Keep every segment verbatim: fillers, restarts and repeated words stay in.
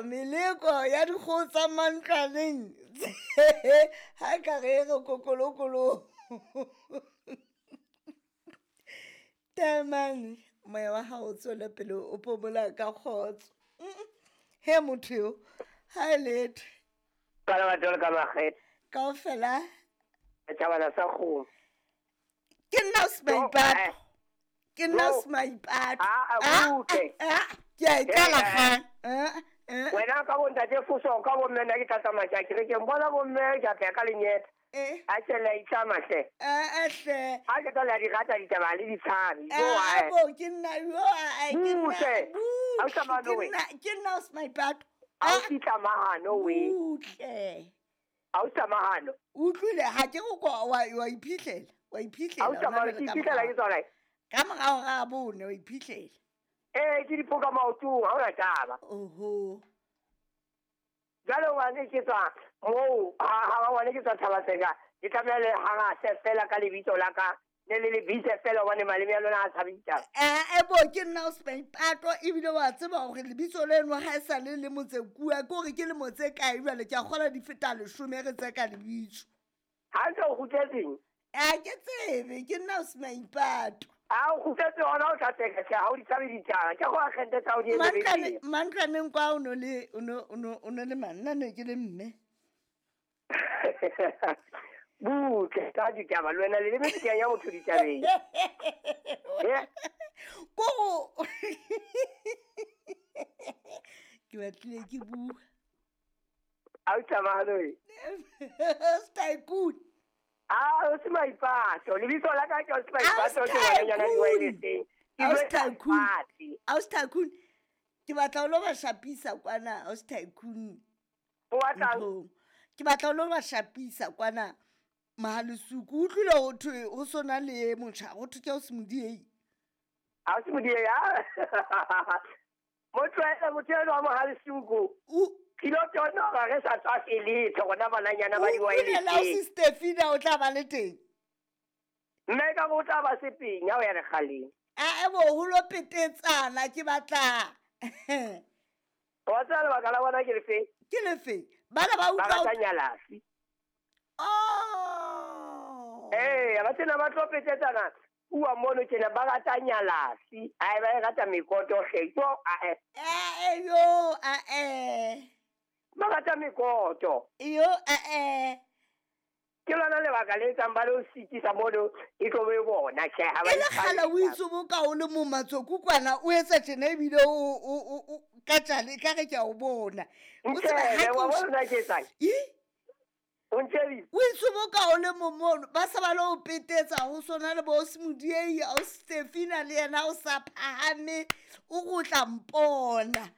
Meleko, meleko ya dikgoho tsa mantlwaneng. Ha ka re re kokolokolo. Taemane, moya wa hao o tswele pele o phomola ka kgotso. He motho eo, ha e letho. Ka le batho ka makgethe. Kaofela. Tjhabana sa kgomo. Ke nna Smaipato. Ke nna Smaipato. Ah, butle. Ah, ke a e qala kgang. Wena ka bo ntate Fuso ka bo mme nna ke tla tsamaya ke ya kerekeng. Bona bo mme ke a pheha ka lenyeta. Eh. A tjhe le a itlama hle. Eh, hle. Ha ke tla le a di rata ditaba le di tshabe. Eh, bo ke nna yo a ke nna. Butle. Ha o tsamaya Ke nna ke nna Smaipato. Ha o fihla we. Butle. Ha o tsamaya. Utlwile ha ke go kwa wa wa iphihlela. Wa iphihlela. Ha o tsamaya ke iphihlela ke tsona. Ka morao ga bone wa iphihlela. Eh, ke dipoka maotong, ha ona taba. Oho. Jwale ngwane ke tswa moo, ha ha ngwane ke tswa Thabaseka, ke tlameha le harase fela ka lebitso la ka. Ne le lebitse fela hobane maleme a lona a tshabe ditaba. Eh, e bo ke nna o Smaipato ebile wa tseba hore lebitso leno ha e sa le le motse kua, ke hore ke lemo tse kae jwale ke a kgola di feta leshome re tse ka lebitso. Ha ntse o kgutletseng? Ha ke tsebe, ke nna o Smaipato. Ha o kgutletse hona o tla tseka tjhe, ha o di tshabe ditaba. Ke go agente tsa o di Mantlwane, mantlwaneng kwa o no le o no o no o no le manna ne ke le mme. Butle ka ditaba le wena le leme ke ya motho ditabeng. Eh? Ko ke batlile ke bua. Ha o tsamaya le. Tycoon. Ah, o se Maipato. Lebitso la ka ke o se Maipato ke ngwananyana di wirelesseng. Aus Tycoon. Aus Tycoon. Ke batla o lo ba shapisa kwana Aus Tycoon. O batlang? Ke batla o lo ba shapisa kwana Mahalesuku. O utlwile ho thwe ho sona le motjha, ho thwe ke o se Modiei. Ha o se Modiei, ha? Motho ena, motho ena wa Mahalesuku. O Kilo tsona ga re sa tswa letho rona bananyana ba O utlwile la o di-wirelesseng. Stefina o tla ba le teng. Mme ka bo o tla ba sepenya ho ya lekgaleng. A e bo ho lo petetsana ke batla. Wa tseba lebaka la bona ke lefe? Ke lefe? Bana ba Ba utlwa rata nyalafi. Oh. Eh, ba tsena ba tlo petetsana. Bua mono tjena ba rata nyalafi. Ai ba e rata mekoto hle. Yo a e. Eh yo a eh. Ba rata mekoto. Yo a eh. Ke lona lebaka le etsang ba lo sitisa mono e tlo be bona tjhe ha ba E le kgale o itse boka o le mo matsoku kwana o etsa tjena ebile o o o ka tjale ka re ke a o bona. O tseba ha Ntjhebe, ke wa o bona nna ke etsang? Ih? O ntjhebile? O itse boka o le mo mono ba se ba lo petetsa ho sona le bo Smodiei o Stefina le yena o sa phahame o gotla mpona.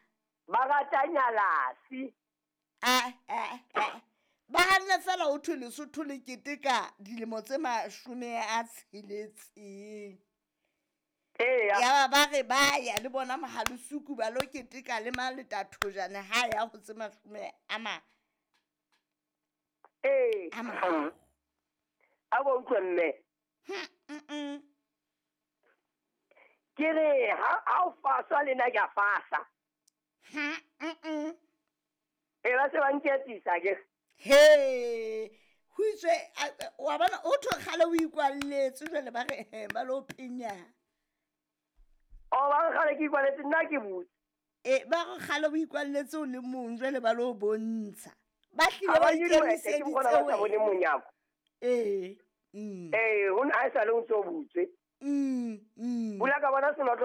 Ba rata nyalafi. Ah ah ah. Ba hanne fela o thwe Lesotho le keteka dilemo tse mashome a tsheletseng. Eya. Ya ba re ba ya le bona Mahalesuku ba lo keteka le Maletathojane ha ya ho tse mashome a ma. Ee. A ma. A bo utlwe mme. Mm. Ke re ha ha o faswa le nna ke a fasa. Mm. E ba se ba nketsisa ke. He, ho itswe wa bona o thwe kgale o ikwalletse jwale ba re ba lo phenya. O ba re kgale ke ikwalletse nna ke butse. E ba re kgale o ikwalletse o le mong jwale ba lo bontsha. Ba hlile Ha ba ba nyolohe, ke bona ba sa ikemiseditse bone wena. monyako. Eh. Mm. Eh, ho na ha e sale o ntso butswe. Mm, mm. Bula ka bona senotlo